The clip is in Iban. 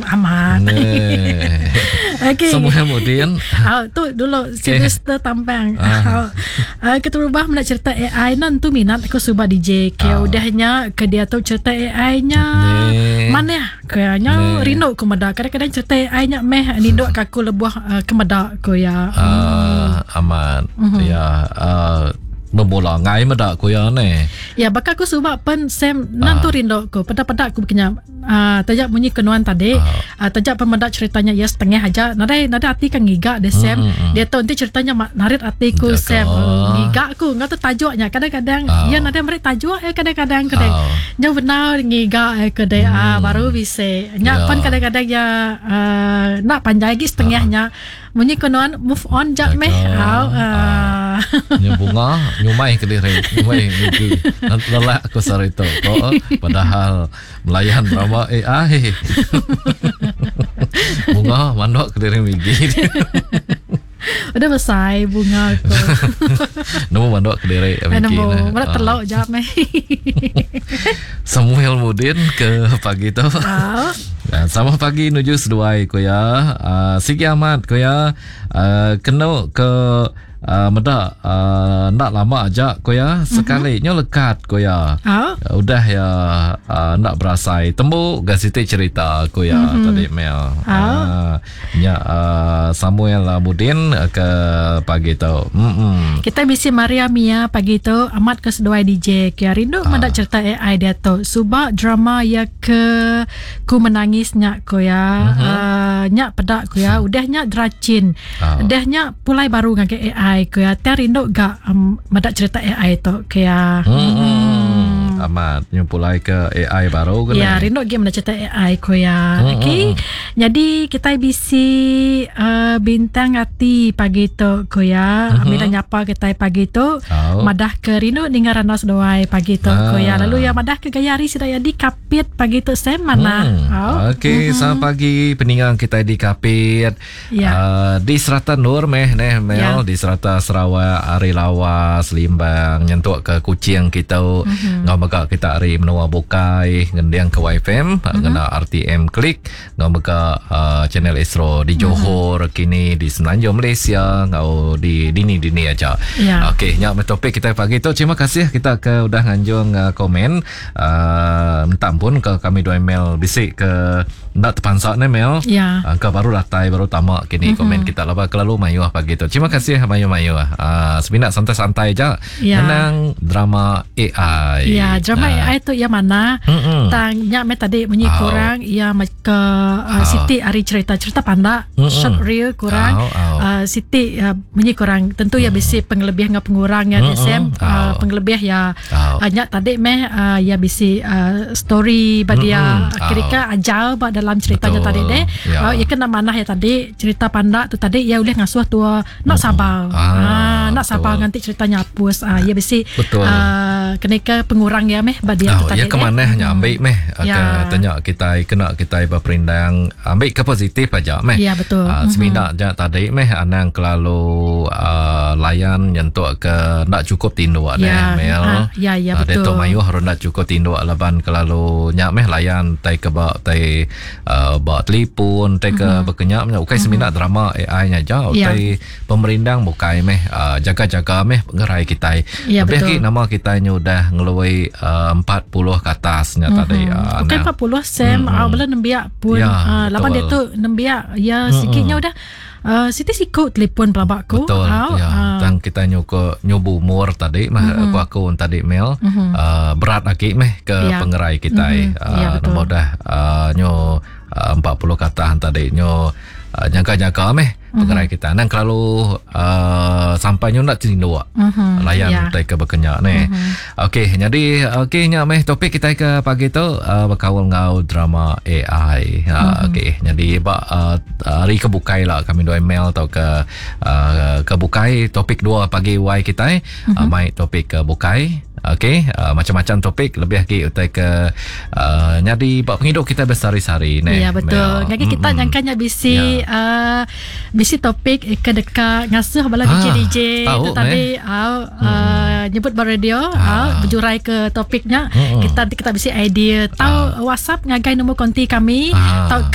Amat. Okey. Semua mudin. Ah, tu dulu okay. Sylvester Tampang. Ah. Uh, keterubah mena cerita AI nan tu minat aku suba DJ. Ke ah. udahnya ke dia tu cerita AI nya manah ke nya rindu ku meda. Kadang-kadang cerita AI nya meh ninduk ke aku lebuh uh, ke meda ku ya. Uh, amat. Mm-hmm. Ya. Uh, Bebola ngai meda ku iya neh. Ya baka aku suba pen Sam nan tu rindu ku peda-peda aku bekenya uh, taja munyi ke nuan tadi uh. Uh, taja pen meda ceritanya iya setengah aja nadai nadai ati ka ngiga deh Sam. Mm-hmm. Dia tu enti ceritanya narit ati ku Sam uh, ngiga ku enggau tu tajuk nya kadang-kadang uh. iya nadai meri tajuk eh kadang-kadang ke deh. Uh. Nya bendar ngiga eh ke deh mm. uh, baru bisi. Nya yeah. pen kadang-kadang iya uh, nak panjai agi setengah uh. nya. Munyi ko nuan move on jak meh. Au. Uh. Nya bunga nyumai ke diri, nyumai migi. Lelak aku sehari tu. Ko padahal melayan drama AI. bunga mandok ke diri migi. Udah besai bunga ko. Nemu mandok ke diri migi. Nemu, mana telok jak meh. Samuel Mudin ke pagi tu. Au. Sama pagi nuju seduai ku iya. Uh, sigi amat ku iya. Uh, kenu ke uh, meda uh, enda lama aja ku iya. Sekali mm-hmm. nyo lekat ku iya. Uh. Udah iya uh, enda berasai. Tembu ga siti cerita ku iya mm-hmm. tadi Mel. Uh. Uh, nya uh, Samuel Mudin ke pagi tu. Mm-mm. Kita bisi Maria Mia pagi tu amat ke seduai DJ. Kia rindu uh. meda cerita AI dia tu. Suba drama iya ke ku menangis nya ko ya uh-huh. uh, nya peda ko ya udah nya dracin uh. udah nya pulai baru ngagai AI ko ya tiang rindu ga um, meda cerita AI tu ko ya hmm. hmm. amat nyu pulai ke AI baru ke ya rindu gi meda cerita AI ko ya hmm. okey jadi kita bisi uh, bintang ati pagi tu ko ya uh-huh. Amira nyapa kita pagi tu oh. madah ke rindu ninga randau seduai pagi tu uh. ko ya lalu ya madah ke gaya hari sida ya di Kapit pagi tu Sam manah. Hmm. Oh. Okey, mm-hmm. selamat pagi peninggang kita di Kapit. Ya. Uh, di serata Nur meh neh Mel ya. di serata Sarawak, ari Lawas, Limbang, nyentuk ke Kuching kita. Mm-hmm. Ngau mega kita ari menua bukai ngending ke YFM mm-hmm. ngena RTM Klik, ngau mega uh, channel Astro di Johor mm-hmm. kini di Semenanjung Malaysia ngau di dini-dini aja. Ya. Okey, nya meh topik kita pagi tu. Terima kasih kita ke udah nganjung uh, komen. Uh, minta ampun ke kami dua email bisi ke enda terpansa ne mail. Ya. Uh, ke baru datai baru tama kini mm-hmm. komen kita laba kelalu mayuh pagi tu. Terima kasih mayuh-mayuh. Uh, semina santai-santai aja ya. ngenang drama AI. Ya, drama uh. AI tu ya mana? Mm-hmm. Tang nya me tadi munyi oh. kurang ya ke uh, siti ari cerita cerita pandak Mm-mm. short reel kurang Au, au. uh, siti uh, munyi kurang tentu ya bisi pengelebih enggau pengurang ya Mm-mm. SM uh, Au. pengelebih ya Au. uh, nya tadi meh uh, ya bisi uh, story ba dia Mm-mm. Au. kira ajar ba dalam ceritanya Betul. tadi deh Ya. uh, ya kena manah ya tadi cerita pandak tu tadi ya ulih ngasuh tua nak sabar Ah, ah, nak sabar betul. nganti ceritanya apus ah ya bisi Betul. uh, kena ke pengurang ya meh ba dia Oh, tu tadi ya ke manah nya ambil meh Ya. ke tanya kita kena kita berperindang ambil ke positif aja meh. Ya, betul. Uh, semina mm-hmm. tadi meh anang kelalu uh, layan nyentuk ke ndak cukup tinduk Ya, deh Mel. ah, ya, ya, Ah, betul. Dia tu mayuh orang ndak cukup tinduk laban kelalu nya meh layan tai ke ba tai uh, ba telefon tai ke mm-hmm. bekenyak nya ukai semina drama AI nya aja Ya. utai pemerindang bukai meh uh, jaga-jaga meh pengerai kita. Ya, Lebih betul. lagi nama kita nya udah ngeluai uh, 40 ke atas nya mm-hmm. tadi. Uh, Bukan 40 Sam mm-hmm. uh, bala nembiak pun Ya, uh, laban betul. dia tu nembiak ya mm-hmm. sikitnya udah uh, siti siku telefon pelabak aku. Betul. Au, ya. ah. Tang kita nyuko nyubu umur tadi mah mm-hmm. aku aku tadi Mel mm-hmm. uh, berat lagi meh ke Ya. pengerai kita. Mhm. Mm-hmm. Uh, Ya, betul. Nombor dah uh, nyo uh, 40 kata tadi nyo uh, jaga-jaga meh pengerai kita. Nang kelalu uh, sampai nyo nak tinduk. Mhm. Layan Ya. utai ke bekenyak ni. Mm-hmm. Okey, jadi okey nya meh topik kita ke pagi tu uh, berkaul ngau drama AI. Ha mm-hmm. okey, jadi ba uh, hari ke bukai lah kami dua email atau ke uh, ke bukai topik dua pagi Y kita mm-hmm. uh, mai topik ke bukai. Okey, uh, macam-macam topik lebih lagi utai ke uh, nyadi ba penghidup kita bersehari-hari ni. Ya betul. Mel. Ngagi kita Mm-mm. nyangkanya bisi Ya. uh, bisi topik ke dekat ngasuh bala Ah, DJ DJ tahu, tu tadi au uh, nyebut ba radio au berjurai ke topiknya. Mm-mm. Kita kita bisi idea. Tahu WhatsApp ngagai nombor konti kami Ah. tau ke